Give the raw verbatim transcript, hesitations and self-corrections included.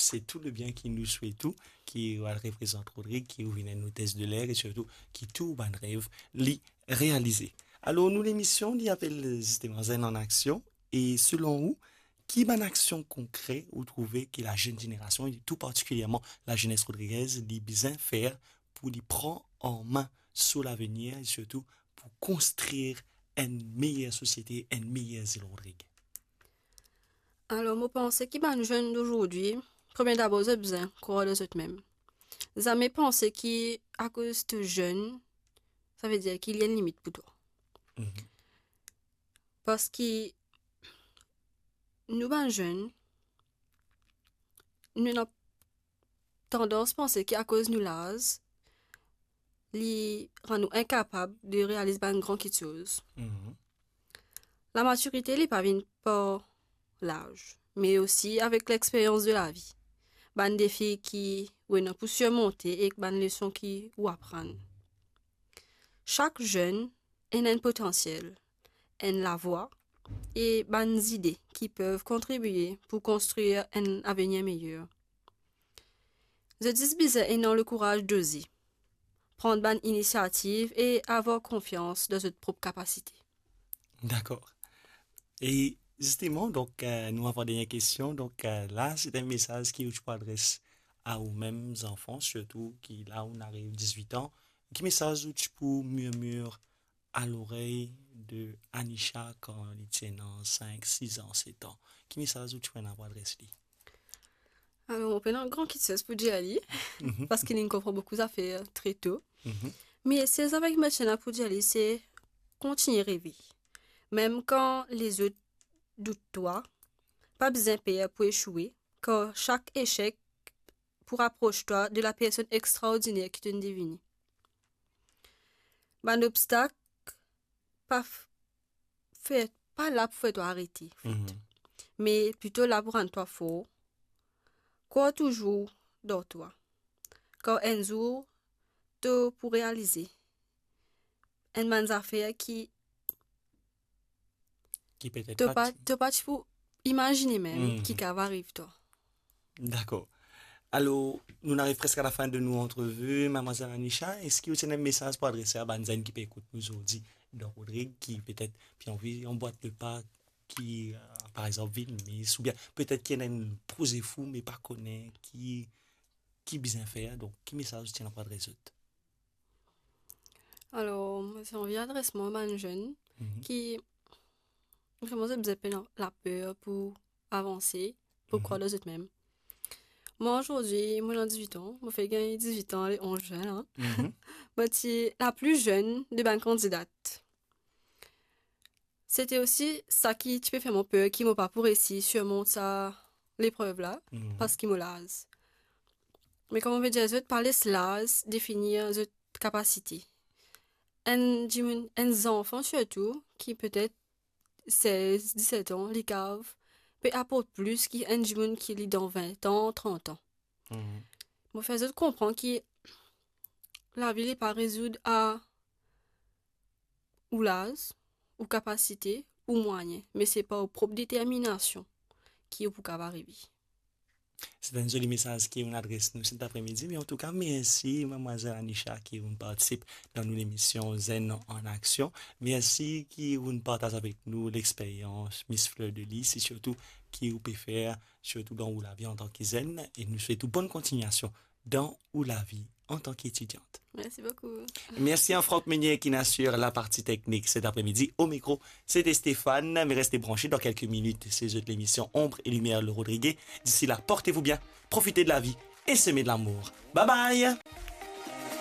se tou le bien ki nou swet ou, ki ou al reprezant Rodrig, ki ou vinn enn otes de ler e sirtou ki tou bann rev li realize. Alor, nou lemision, li apel zisteman Zenn an Aksion. E selon ou, ki bann aksion konkre ou trouve ki lazenn zenerasion, e tou partikilierman lazenes rodrigez, li bizin fer pou li pran an min so lavenir e sirtou pou konstrir enn meyer sosiete, enn meyer zil Rodrig? Alor, mo panse ki bann zenn dozordi, premie dabor, zot bizin krwar dan zot mem. Zame panse ki akoz to zenn, savedir ki li enn limit pou twa. Mhm. Parski nou bann zenn, nou ena tandans panse ki akoz nou laz, li rann nou inkapab de realiz bann gran kitsoz. Mhm. Lamatirite, li pa vinn par laz, me osi avek lexperyans de lavi, bann defi ki ou ena pou sirmonte ek bann leson ki ou aprann. Sak zenn ena enn potansiel, enn lavwa e bann zide ki pe kontribie pou konstrir enn avenir meyer. Zot zis bizin ena lekouraz doze, pran bann inisiativ e avoir konfians dan zot prop kapasite. Dakor. E zisteman, donk, eh, nou avan dernie kestion. Donk, eh, la, se enn mesaz ki ou ti pou adres a ou mem zanfan, sirtou ki la ou ariv dizwit an. Ki mesaz ou ti pou mirmir a lorey de Anisha kan li ti ena sink, siz an, set an? Ki mesaz ou ti pou ena pou adres li? Alor, mo pena gran kitsoz pou dir li, mhm, parski li konpran boukou zafer tre to. Mhm. Me sel zafar ki mo ti ena pou dir li, se kontigne reve. Mem kan lezot dout twa, pa bizin per pou esoue, kar sak esek pou rapros twa de lapersonn extraordiner ki to'nn devini. Bann obstak pa f-, fer, pa la pou fer twa arete, anfet. Mhm. Me plito la pou rann twa for. Krwar touzour dan twa. Kar enn zour, to pou realize enn bann zafer ki Ki petet to pa pa, ti to pa ti pou imazine mem, mhm, ki kav ariv twa. Dakor. Alor, nou ariv preske a lafin de nou antrevi, Madmwazel Anisha. Eski ou ti ena enn mesaz pou adrese a bann zenn ki pe ekout nou zordi dan Rodrig, ki petet pe anvi anbwat le pa, ki, eh, par exanp, vinn Miss, oubien petet ki ena enn proze fou, me pa kone ki, ki bizin fer? Donk, ki mesaz ou ti ena pou adres zot? Alor, mo ti anvi adres mwa bann zenn, mhm, ki vreman zot bizin pena laper pou avanse, pou, mhm, krwar dan zot mem. Mwa, zordi, mo ena dizwit an, mo fek gagn dizwit an le onz zen, hein. Mhm. Mo ti lapli zenn de bann kandidat. Se ti osi sa ki ti pe fer mwa per ki mo pa pou resi sirmont sa leprev la, mhm, parski mo laz. Me kouma mo pe dir zot, pa les laz definir zot kapasite. Enn dimoun, enn zanfan sirtou, ki petet sez, diset an, li kav pe aport plis ki enn dimoun ki li dan vin an, trant an. Mhm. Mo fer zot konpran ki lavi li pa rezoud a ou laz, ou kapasite, ou mwayin, me se par ou prop determinasion ki ou pou kav arive. Se enn zoli mesaz ki ou'nn adres nou set apremidi, me antouka, mersi, Madmwazel Anisha, ki ou'nn partisip dan nou lemision Zenn an Aksion. Mersi ki ou'nn partaz avek nou lexperyans Miss Fleur de Lys, e sirtou ki ou pe fer, sirtou dan ou lavi antan ki zenn, e nou swet ou bonn kontignasion dan ou lavi antan ki etidiant. Merci beaucoup. Merci à Franck Meunier qui assure la partie technique cet après-midi. Au micro, c'était Stéphane. Mais restez branchés, dans quelques minutes, c'est l'émission Ombre et Lumière, le Rodriguez. D'ici là, portez-vous bien, profitez de la vie et semez de l'amour. Bye bye.